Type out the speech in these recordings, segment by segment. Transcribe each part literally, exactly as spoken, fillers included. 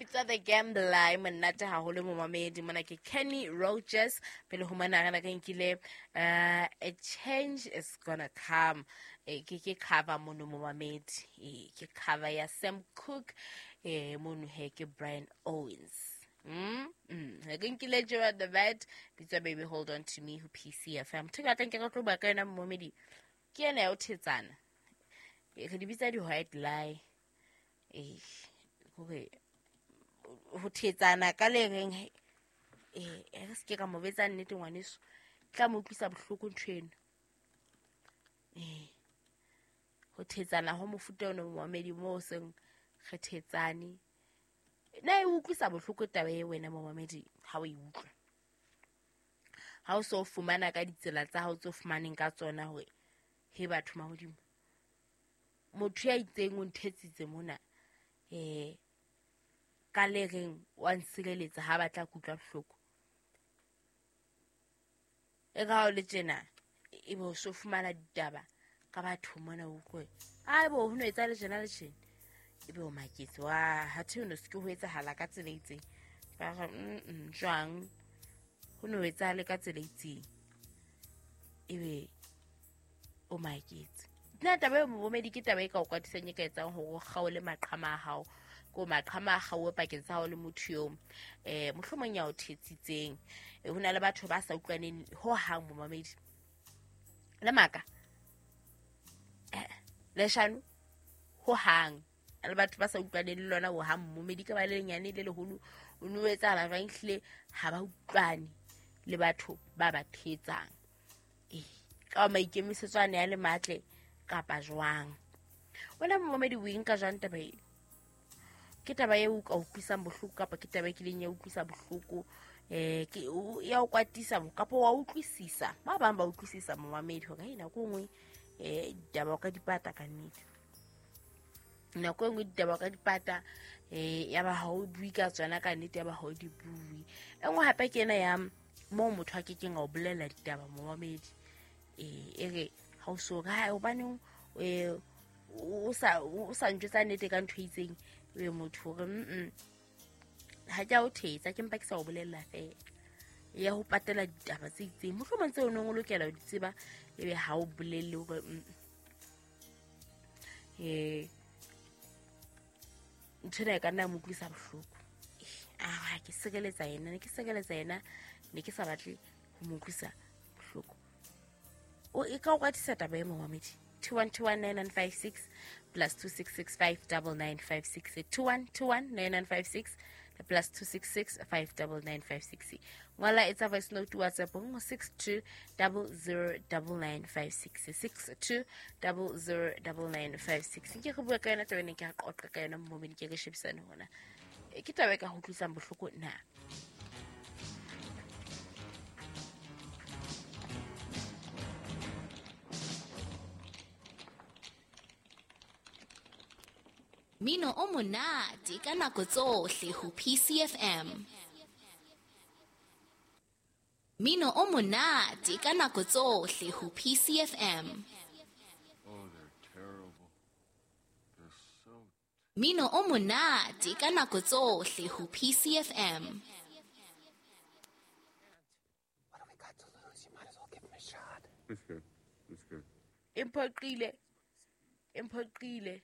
Bitswa The Gambler, e monate haholo momamedi. Mona ke Kenny Rogers. Pele ho mona re re nkile uh, a change is gonna come. E, ke ke cover mono momamedi. E, ke cover ya Sam Cooke. E, mono he ke Brian Owens. Mm, mm. Re nkile Joe the Vet, bitswa Baby Hold On To Me ho P C F M. Ntho e ke batlang ke re tlo bua ka yona momamedi ke ena ya ho thetsana. E, re di bitsa di-white lie. E, hore ho thetsana ka le reng, eh, re se ke ka mo betsa nnete ngwaneso, tla mo utlwisa bohloko ntho eno. Eh, ho thetsana ho mofuta ono momamedi moo seng re thetsane. Na e utlwisa bohloko taba e wena momamedi ha o e utlwa? Ha o so fumana ka ditsela tsa hao tse fumaneng ka tsona hore he batho mahodimo, motho ya itseng o nthetsitse mona, eh, ka le reng wa nsireletsa ha batla kutlwa bohloko. E ka ha o le tjena, e be o so fumana ditaba ka batho mona o utlwe, ai bo ho no etsa le tjena le tjena. E be o maketse, wa ha the no se ke ho etsahala ka tsela e itseng. Ba re, mm, jwang ho no etsahale ka tsela e itseng. E be o maketse. Nna taba eo momamedi ke taba e ka o kwatisang, e ka etsang hore o kgaole maqhama a hao. Ko maqhama a kgaowe pakeng tsa hao le motho eo, eh, mohlomong ya o thetsitseng. Eh, ho na le batho ba sa utlwaneng ho hang momamedi. Le maka. Eh, leshano ho hang. Le batho ba sa utlwaneng le lona ho hang momamedi, ka ba le lenyane le leholo, o no etsahala jwang ehlile ha ba utlwane le batho ba ba thetsang. Eh, ka maikemisetso a ne a le matle kapa jwang. Wena momamedi o e nka jwang taba e? Ke taba e o ka utlwisang bohloko kapa ke taba e kileng ya utlwisa bohloko? Eh, ke o, ya o kwatisa kapa wa utlwisisa? Ba bang ba utlwisisa momamedi hore hey, nako e nngwe, eh, ditaba o ka di pata ka nnete. Nako e nngwe ditaba o ka di pata, eh, ya ba ha o bue ka tsona ka nnete, ya ba ha o di bue. E nngwe hape ke ena ya moo motho a kekeng a o bolella ditaba momamedi. Eh, e re ha o so re, hai, hobaneng, eh, o sa, o sa ntjwetsa nnete ka ntho e itseng, e motho hore, mm, ha ke a o thetsa, ke mpa ke sa o bolella feela. Ya ho patela ditaba tse itseng, mohlomong tseo o neng o lokela ho di tseba, ebe ha o bolelle hore, mm, eh, ntho ena e ka nna ya mo utlwisa bohloko. Eh, ah, ke sireletsa yena, ne ke sireletsa yena, ne ke sa batle ho mo utlwisa bohloko. O e ka o kwatisa taba e momamedi. two one two one nine nine five six plus two six six five double nine five six. two one two one nine nine five six plus two six six five double nine five six. Ngola etsa voice note WhatsApp ho six two double zero double nine five six. six two double zero double nine five six. Nke re bua ka yona taba ena, ke a qoqa ka yona momamedi, ke re shebisane hona. E, ke taba e ka ho utlwisang bohloko na? Mino o monate ka nako tsohle ho P C F M. Mino o monate ka nako tsohle ho P C F M. Oh, they're terrible. They're so Mino o monate ka nako tsohle ho P C F M. What do we got to lose? You might as well give him a shot. It's good. It's good. Imphoqile. Imphoqile.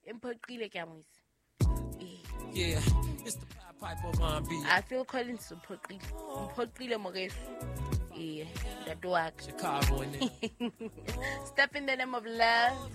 Imphoqile ke a mo itse. Eh. Yeah, it's the Pied Piper of R and B. I feel Collins mphoqile. Mphoqile moreso. Eh, ntate wa ka. Chicago in there. Step in the name of love.